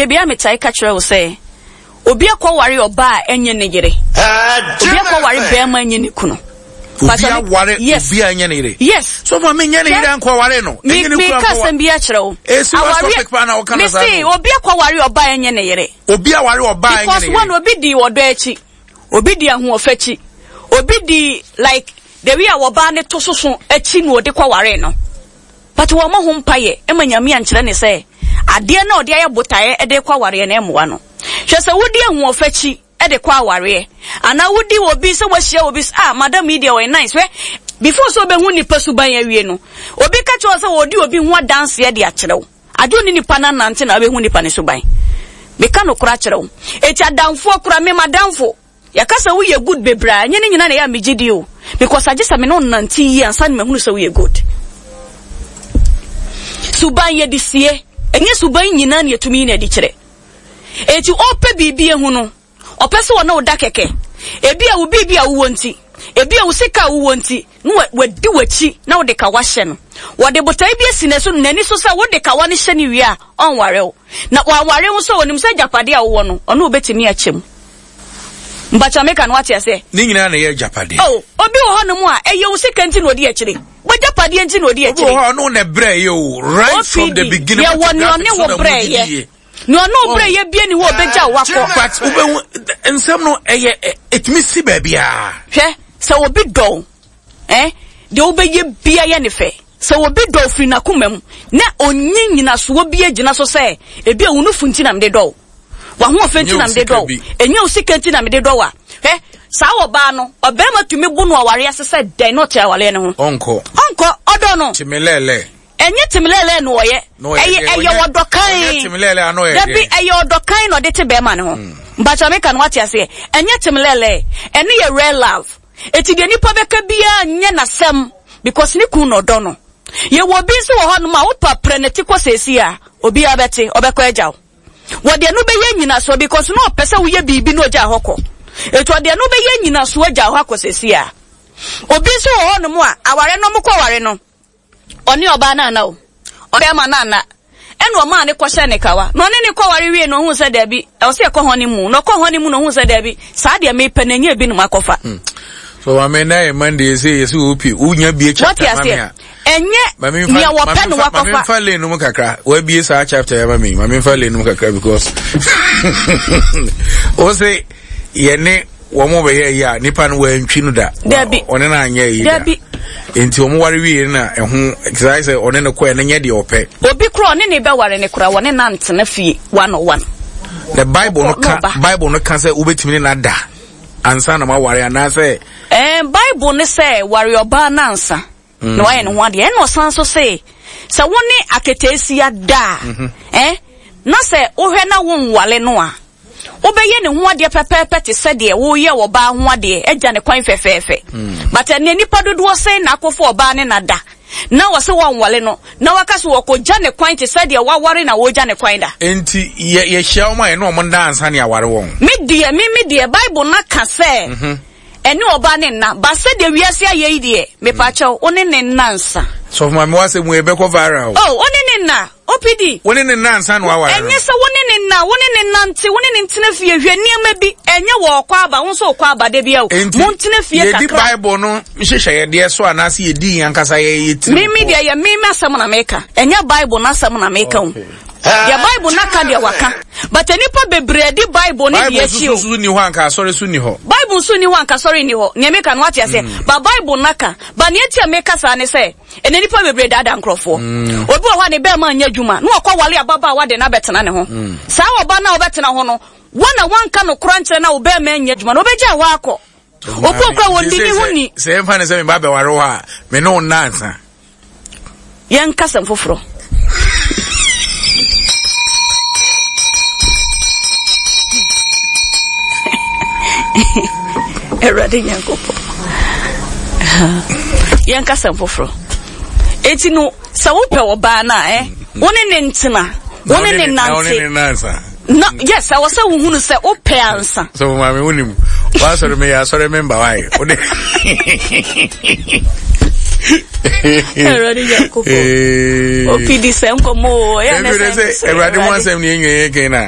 Da biara metae ka kyerɛ wo sɛ, obi akɔware ɔbaa a ɛnyɛ ne yere. Obi akɔware bɛrima ɛnyɛ ne kunu. Obi aware obi a ɛnyɛ ne yere. Yes. So ma me nyɛ ne yere ankɔware no. Me me ka asɛm bi akyerɛ wo. Esi wa topic pa na ɔka na saa. Me se obi akɔware ɔbaa ɛnyɛ ne yere. Obi aware ɔbaa ɛnyɛ ne yere. Because one obi di ɔdɔ akyi, obi di ahoɔfɛ akyi, obi di like the way a ɔbaa ne to soso akyi na ɔde kɔware no. But wɔmmɔ ho mpaeɛ ma Nyame ankyerɛ no sɛ adeɛ no a ɔde ayɛ botaeɛ de rekɔ awareɛ no ɛmmoa no. Hwɛ sɛ wodi ahoɔfɛ akyi de kɔ awareɛ anaa wodi obi sɛ wahyia obi sɛ ah madam yi deɛ ɔyɛ nice hwɛ before sɛ wobɛhu nipa suban awie no obi ka kyerɛ wo sɛ ɔdi obi ho adanseɛ de akyerɛ wo agye wo ne nipa no anante na wobɛhu nipa no suban. Meka nokorɛ akyerɛ wo. Eti adamfoɔ kora me madamfo Yɛka sɛ woyɛ good bebree a, ɛnyɛ ne nyinaa na ɛyɛ a megye di o. Because agye sɛ me ne wo nante yie ansa na mahunu sɛ woyɛ good. Suban yɛde sie, ɛnyɛ suban nyinaa na yɛtumi yi no adi kyerɛ. Enti ɔpɛ biribi ahu no, ɔpɛ sɛ ɔne wo da kɛkɛ. Ebi a wo biribi a wowɔ nti, ebi a wo sika a wowɔ nti, na wadi w'akyi na wode kawa hyɛ no. Wɔde botae bi asi n'ani so sɛ wode kawa no hyɛ no wie a, ɔnware wo. Na wanware wo nso a, ɔnim sɛ agyapadeɛ a wowɔ no, ɔne wo bɛtumi akyɛ mu. Mpakyɛ meka no wate aseɛ? Ne nyinaa na ɛyɛ agyapadeɛ. Oh, obi wɔ hɔnom a, ɛyɛ wo sika nti na ɔdi akyire. W'agyapadeɛ nti na ɔdi akyire. Obi wɔ hɔ a, ɔno na ɛbrɛ yɛ o, right from the beginning. Yɛwɔ nea ɔne wo brɛ yɛ. Nea ɔne wo brɛ yɛ bie ni hɔ ɔbɛgya wo akɔ. But wobɛhu nsɛm no ɛyɛ ɛtumi si baabiara. Hwɛ, sɛ obi dɔ wo, eh, deɛ wobɛyɛ bia yɛ ne fɛ. Sɛ obi dɔ wo firi n'akoma mu na ɔnyi nyinasoɔ bi agyina so sɛ ebi a wo nufu nti na mede dɔ wo, w'ahoɔfɛ nti na mede dɔ wo, ɛnyɛ wo sika nti na mede dɔ wo a, hwɛ, saa ɔbaa no, ɔbarima tumi bo no awareɛ ase sɛ dɛn na ɔte awareɛ no ho? Ɔnkɔ. Ɔnkɔ, ɔdɔ no. Temelɛɛlɛ. Ɛnyɛ temelɛɛlɛ na ɔyɛ. Ɛyɛ ɛyɛ ɔdɔ kan. Ɔnyɛ temelɛɛlɛ ano yɛ Dabi, ɛyɛ ɔdɔ kan na ɔde te bɛrima no ho. Mpakyɛ meka no wate aseɛ. Ɛnyɛ temelɛɛlɛ. Ɛno yɛ rare love. Eti deɛ nipa bɛka biara nyɛ n'asɛm because ne kun na ɔdɔ no. Yɛwɔ obi nso wɔ hɔnom a wopa prɛ ne ti kɔ seesei a, obiara bɛte, ɔbɛkɔ agya wo. Wɔde ɛno bɛyɛ nyinasoɔ because na ɔpɛ sɛ woyɛ biribi na ɔgyaa hɔ kɔ. Eti ɔde ɛno bɛyɛ nyinasoɔ agya hɔ akɔ seesei a. Obi nso wɔ hɔnom a aware no ɔmokɔ ware no, ɔne ɔbaa no anna o, ɔne bɛrima no anna. Ɛna ɔmaa no kɔhyɛɛ ne kawa. Na ɔne no kɔware wiei no, ohuu sɛ daabi, ɛwɔ sɛ yɛkɔ hɔne mu. Na ɔkɔɔ hɔne mu no, ohuu sɛ daabi, saa deɛ mepɛ no, ɛnyɛ ebi na makɔfa. Hmm. So maame na yɛ Monday sɛ yɛsɛ wɔ pie wonya bie chapter ma me a. Ɛnyɛ nea wɔpɛ no wakɔfa. Maame nfa lane no mu kakra. Wabie saa chapter yɛ ma me. Maame nfa lane no mu kakra because wo se yɛne wɔn bɛyɛ yi a nipa no wɔantwi no da. Dabi. Ɔne no anyɛ yi da. Dabi. Nti wɔn ware wie na ɛho kyerɛ sɛ ɔne no kɔɛ no nyɛ deɛ ɔpɛ. Obi kura ɔne ne bɛware ne kura wɔne nantena fie one on one. Na Bible no ka Bible no ka sɛ wobɛtumi ne no ada ansa na moaware anaasɛ. Ɛɛ Bible no sɛ ware ɔbaa no ansa. na wayɛ ne ho adeɛ ɛna ɔsan so se sɛ wo ne aketeesia da a mhm. eh, na sɛ wohwɛ na wonwale no a wobɛyɛ ne ho adeɛ pɛpɛɛpɛ te sɛ deɛ woyɛ ɔbaa ho adeɛ agya ne kwan fɛfɛɛfɛ mm. but ɛnɛ nipa dodoɔ sɛn na akɔfo ɔbaa ne nada na wɔsɛ wɔnwale no na waka so wɔkɔgya ne kwan te sɛ deɛ waware na wɔgya ne kwan da. Nti yɛ yɛhyia wɔn a yɛne wɔn da ansa ne aware wɔn. Me deɛ me me deɛ Bible na ka sɛ. Mm -hmm. Ɛne ɔbaa ne nna ba sɛdeɛ wiase ayɛ yi deɛ mepakyɛw wo ne ne nna nsa. Sɔfo maame w'asɛm wei ɛbɛkɔ viral o. Oh wo ne ne nna OPD. Wo ne ne nna ansa na waware no. Ɛnyɛ sɛ wo ne ne nna wo ne ne nante wo ne ne ntena fie hwɛ nneɛma bi ɛnyɛ wɔ ɔkɔ aba wo nso wokɔ aba da bi o. Enti Mo ntena fie yɛdi kakra. Bible no nhyehyɛeɛdeɛ so anaasɛ yɛdi yɛn ankasa yɛ yɛ tirim Me me pɔ? deɛ yɛ me m'asɛm na meka ɛnyɛ Bible n'asɛm na meka o. Okay. Deɛ Bible no aka deɛ waka. But nnipa bebree adi Bible ne Bible deɛ akyi o. nso so nni hɔ anka asɔre so nni hɔ. Bible nso nni hɔ anka asɔre nni hɔ. Nea meka no wate aseɛ. Mm. But Bible no aka. But nea nti a meka saa ne sɛ, ɛnɛ nnipa bebree daadaa nkurɔfoɔ. Mm. Obi wɔ hɔ a ne bɛrima nyɛ adwuma na ɔkɔ wale ababaawa de no abɛtena ne ho. Mm. Saa ɔba no a ɔbɛtena ho no, wɔn a wɔnka nokora nkyerɛ na wo bɛrima nyɛ adwuma no, ɔbɛgya hɔ akɔ. Obi okura wɔn di ne ho ni. Sɛ yɛmfa ne sɛ meba bɛware hɔ a, me ne wo nna ansa. Yɛnka sɛm foforɔ. Awurade Nyankopɔn. Yɛnka sɛm foforɔ. Eti no, sɛ wopɛ ɔbaa no a, eh, wo ne ne ntena, wo ne ne nante. Na yes, ɛwɔ sɛ wohunu sɛ wopɛ ansa. So maame wonim, wasɔre me yɛ asɔre me mba wae. Wode. Awurade Nyankopɔn. Opidi sɛ nkɔmɔ o. Ɛyɛ ne sɛ Awurade mu asɛm ne yɛn nyɛ yɛ kɛn na.